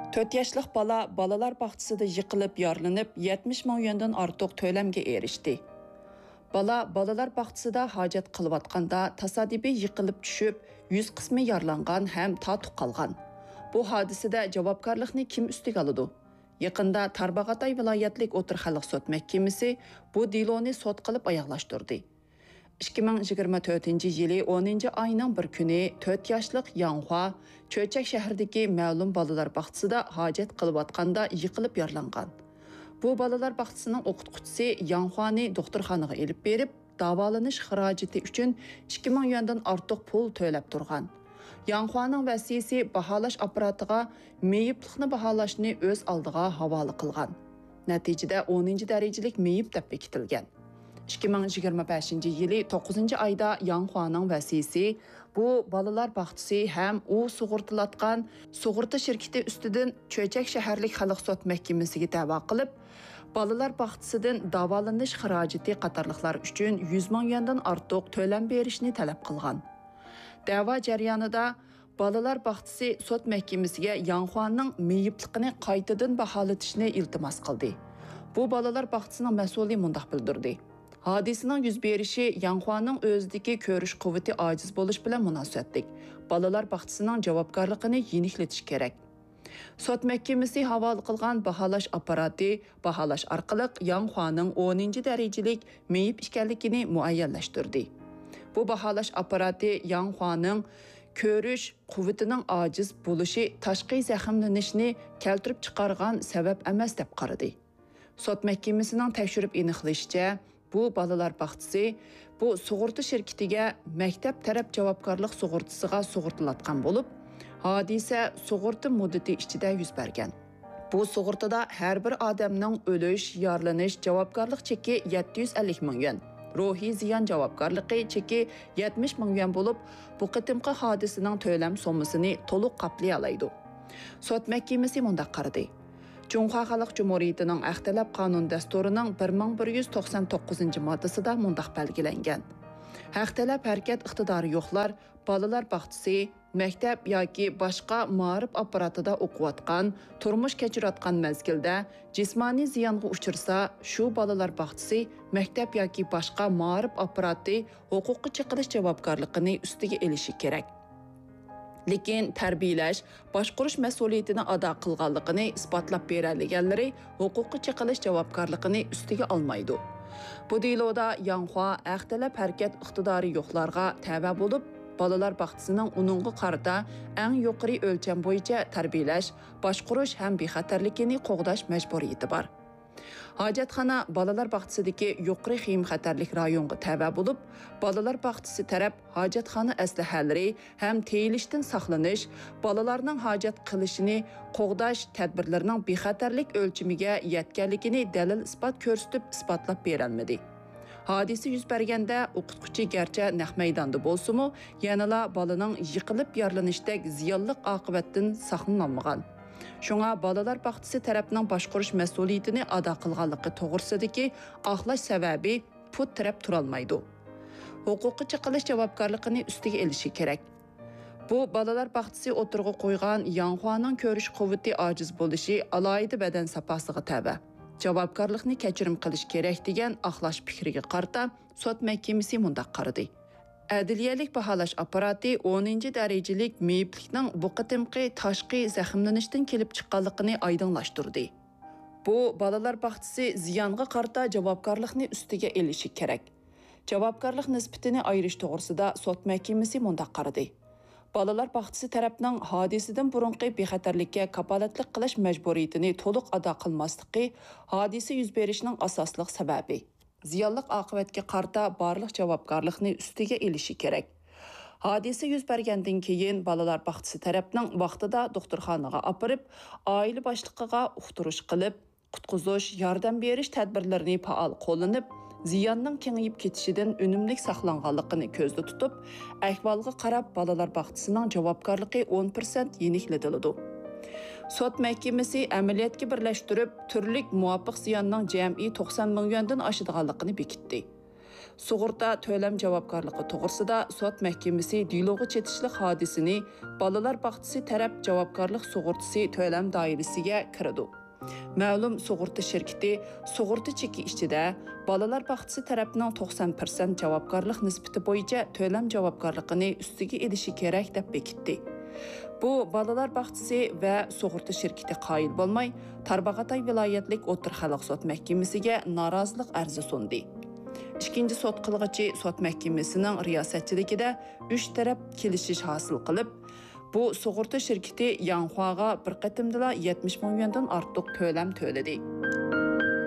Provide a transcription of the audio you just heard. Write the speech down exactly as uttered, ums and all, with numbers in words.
تۆت ياشلىق بالا بالىلار باغچىسىدا يىقىلىپ يارىلىنىپ، يەتمىش مىڭ يۈەندىن ئارتۇق تۆلەمگە ئېرىشتى. بالا بالىلار باغچىسىدا ھاجەت قىلىۋاتقاندا تاسادىپىي يىقىلىپ چۈشۈپ، يۈز قىسمى يارىلانغان ھەم تاتۇق قالغان. بۇ ھادىسىدە جاۋابكارلىقنى كىم ئۈستىگە ئالىدۇ؟ يېقىندا تارباغاتاي ۋىلايەتلىك ئوتتۇرا خەلق سوت مەھكىمىسى بۇ دېلونى سوت قىلىپ ئاياغلاشتۇردى. ئىككى مىڭ يىگىرمە تۆتىنچى يىلى ئونىنچى ئاينىڭ بىر كۈنى تۆت ياشلىق ياڭخۇا چۆچەك شەھىرىدىكى مەلۇم بالىلار باغچىسىدا ھاجەت قىلىۋاتقاندا يىقىلىپ يارىلانغان. بۇ بالىلار باغچىسىنىڭ ئوقۇتقۇچىسى ياڭخۇانى دوختۇرخانىغا ئېلىپ بېرىپ، داۋالىنىش خىراجىتى ئۈچۈن ئىككى مىڭ يۈەندىن ئارتۇق پۇل تۆلەپ تۇرغان. ياڭخۇانىڭ ۋەسىيسى باھالاش ئاپپاراتىغا مېيىپلىقنى باھالاشنى ئۆز ئالدىغا ھاۋالە قىلغان. نەتىجىدە ئونىنچى دەرىجىلىك مېيىپ دەپ بېكىتىلگەن. ئىككى مىڭ يىگىرمە بەشىنچى يىلى توققۇزىنچى ئايدا ياڭخۇانىڭ ۋەسىيسى بۇ بالىلار باغچىسى ھەم ئۇ سۇغۇرتىلاتقان سۇغۇرتا شىركىتى ئۈستىدىن چۆچەك شەھەرلىك خەلق سوت مەھكىمىسىگە دەۋا قىلىپ، بالىلار باغچىسىدىن داۋالىنىش خىراجىتى قاتارلىقلار ئۈچۈن يۈز مىڭ يۈەندىن ئارتۇق تۆلەم بېرىشنى تەلەپ قىلغان. دەۋا جەريانىدا بالىلار باغچىسى سوت مەھكىمىسىگە ياڭخۇانىڭ مېيىپلىقىنى قايتىدىن باھالىتىشنى ئىلتىماس قىلدى. بۇ بالىلار باغچىسىنىڭ مەسئۇلى مۇنداق بىلدۈردى: ھادىسىنىڭ يۈز بېرىشى ياڭخۇانىڭ ئۆزىدىكى كۆرۈش قۇۋۋىتى ئاجىز بولۇش بىلەن مۇناسىۋەتلىك. بالىلار باغچىسىنىڭ جاۋابكارلىقىنى يېنىكلىتىش كېرەك. سوت مەھكىمىسى ھاۋالە قىلغان باھالاش ئاپپاراتى باھالاش ئارقىلىق ياڭخۇانىڭ ئونىنچى دەرىجىلىك مېيىپ ئىكەنلىكىنى مۇئەييەنلەشتۈردى. بۇ باھالاش ئاپپاراتى ياڭخۇانىڭ كۆرۈش قۇۋۋىتىنىڭ ئاجىز بولۇشى تاشقى زەخىملىنىشنى كەلتۈرۈپ چىقارغان سەۋەب ئەمەس دەپ قارىدى. سوت مەھكىمىسىنىڭ تەكشۈرۈپ ئېنىقلىشىچە، بۇ بالىلار باغچىسى بۇ سۇغۇرتا شىركىتىگە مەكتەپ تەرەپ جاۋابكارلىق سۇغۇرتىسىغا سۇغۇرتىلاتقان بولۇپ، ھادىسە سۇغۇرتا مۇددىتى ئىچىدە يۈز بەرگەن. بۇ سۇغۇرتىدا ھەر بىر ئادەمنىڭ ئۆلۈش، يارىلىنىش جاۋابكارلىق چېكى يەتتە يۈز ئەللىك مىڭ يۈەن، روھىي زىيان جاۋابكارلىقى چېكى يەتمىش مىڭ يۈەن بولۇپ، بۇ قېتىمقى ھادىسىنىڭ تۆلەم سوممىسىنى تولۇق قاپلىيالايدۇ. سوت مەھكىمىسى مۇنداق قارىدى: جۇڭخۇا خەلق جۇمھۇرىيىتىنىڭ ئەخ تەلەپ قانۇن دەستۇرىنىڭ بىر مىڭ بىر يۈز توقسان توققۇزىنچى ماددىسىدا مۇنداق بەلگىلەنگەن: ھەق تەلەپ ھەرىكەت ئىقتىدارى يوقلار، بالىلار باغچىسى، مەكتەپ ياكى باشقا مائارىپ ئاپپاراتىدا ئوقۇۋاتقان، تۇرمۇش كەچۈرۈۋاتقان مەزگىلدە جىسمانىي زىيانغا ئۇچرىسا، شۇ بالىلار باغچىسى، مەكتەپ ياكى باشقا مائارىپ ئاپپاراتى ھوقۇققا چېقىلىش جاۋابكارلىقىنى ئۈستىگە ئېلىشى كېرەك. لېكىن تەربىيەلەش، باشقۇرۇش مەسئۇلىيىتىنى ئادا قىلغانلىقىنى ئىسپاتلاپ بېرەلىگەنلىرى ھوقۇققا چېقىلىش جاۋابكارلىقىنى ئۈستىگە ئالمايدۇ. بۇ دېلودا ياڭخۇا ھەق تەلەپ ھەرىكەت ئىقتىدارى يوقلارغا تەۋە بولۇپ، بالىلار باغچىسىنىڭ ئۇنىڭغا قارىتا ئەڭ يۇقىرى ئۆلچەم بويىچە تەربىيەلەش، باشقۇرۇش ھەم بىخەتەرلىكىنى قوغداش مەجبۇرىيىتى بار. ھاجەتخانا بالىلار باغچىسىدىكى يۇقىرى خېيىم خەتەرلىك رايونغا تەۋە بولۇپ، بالىلار باغچىسى تەرەپ ھاجەتخانا ئەسلىھەلىرى ھەم تېيىلىشتىن ساقلىنىش، بالىلارنىڭ ھاجەت قىلىشىنى قوغداش تەدبىرلىرىنىڭ بىخەتەرلىك ئۆلچىمىگە يەتكەنلىكىنى دەلىل-ئىسپات كۆرسىتىپ ئىسپاتلاپ بېرەلمىدى. ھادىسە يۈز بەرگەندە ئوقۇتقۇچى گەرچە نەق مەيداندا بولسىمۇ، يەنىلا بالىنىڭ يىقىلىپ يارىلىنىشتەك زىيانلىق ئاقىۋەتتىن ساقلىنالمىغان. شۇڭا بالىلار باغچىسى تەرەپنىڭ باشقۇرۇش مەسئۇلىيىتىنى ئادا قىلغانلىقى توغرىسىدىكى ئاقلاش سەۋەبى پۇت تىرەپ تۇرالمايدۇ. ھوقۇققا چېقىلىش جاۋابكارلىقىنى ئۈستىگە ئېلىشى كېرەك. بۇ بالىلار باغچىسى ئوتتۇرىغا قويغان ياڭخۇانىڭ كۆرۈش قۇۋۋىتى ئاجىز بولۇشى ئالاھىدە بەدەن ساپاسىغا تەۋە، جاۋابكارلىقنى كەچۈرۈم قىلىش كېرەك دېگەن ئاقلاش پىكرىگە قارىتا سوت مەھكىمىسى مۇنداق قارىدى: ئەدلىيەلىك باھالاش ئاپپاراتى ئونىنچى دەرىجىلىك مېيىپلىكنىڭ بۇ قېتىمقى تاشقى زەخىملىنىشتىن كېلىپ چىققانلىقىنى ئايدىڭلاشتۇردى. بۇ بالىلار باغچىسى زىيانغا قارىتا جاۋابكارلىقنى ئۈستىگە ئېلىشى كېرەك. جاۋابكارلىق نىسبىتىنى ئايرىش توغرىسىدا سوت مەھكىمىسى مۇنداق قارىدى: بالىلار باغچىسى تەرەپنىڭ ھادىسىدىن بۇرۇنقى بىخەتەرلىككە كاپالەتلىك قىلىش مەجبۇرىيىتىنى تولۇق ئادا قىلماسلىقى ھادىسە يۈز بېرىشنىڭ ئاساسلىق سەۋەبى. زىيانلىق ئاقىۋەتكە قارىتا بارلىق جاۋابكارلىقنى ئۈستىگە ئېلىشى كېرەك. ھادىسە يۈز بەرگەندىن كېيىن بالىلار باغچىسى تەرەپنىڭ ۋاقتىدا دوختۇرخانىغا ئاپىرىپ، ئائىلە باشلىقىغا ئۇقتۇرۇش قىلىپ، قۇتقۇزۇش، ياردەم بېرىش تەدبىرلىرىنى پائال قوللىنىپ، زىياننىڭ كېڭىيىپ كېتىشىدىن ئۈنۈملۈك ساقلانغانلىقىنى كۆزدە تۇتۇپ، ئەھۋالغا قاراپ بالىلار باغچىسىنىڭ جاۋابكارلىقى ئون پىرسەنت يېنىكلىتىلىدۇ. سوت مەھكىمىسى ئەمەلىيەتكە بىرلەشتۈرۈپ، تۈرلۈك مۇۋاپىق زىياننىڭ جەمئىي توقسان مىڭ يۈەندىن ئاشىدىغانلىقىنى بېكىتتى. سۇغۇرتا تۆلەم جاۋابكارلىقى توغرىسىدا سوت مەھكىمىسى دېلوغا چېتىشلىق ھادىسىنى بالىلار باغچىسى تەرەپ جاۋابكارلىق سۇغۇرتىسى تۆلەم دائىرىسىگە كىرىدۇ. مەلۇم سۇغۇرتا شىركىتى سۇغۇرتا چېكى ئىچىدە بالىلار باغچىسى تەرەپنىڭ توقسان پىرسەنت جاۋابكارلىق نىسبىتى بويىچە تۆلەم جاۋابكارلىقىنى ئۈستىگە ئېلىشى كېرەك دەپ بېكىتتى. بۇ بالىلار باغچىسى ۋە سۇغۇرتا شىركىتى قايىل بولماي، تارباغاتاي ۋىلايەتلىك ئوتتۇرا خەلق سوت مەھكىمىسىگە نارازىلىق ئەرزى سۇندى. ئىككىنچى سوت قىلغۇچى سوت مەھكىمىسىنىڭ رىياسەتچىلىكىدە ئۈچ تەرەپ كېلىشىش ھاسىل قىلىپ، بۇ سۇغۇرتا شىركىتى ياڭخۇاغا بىر قېتىمدىلا يەتمىش مىڭ يۈەندىن ئارتۇق تۆلەم تۆلىدى.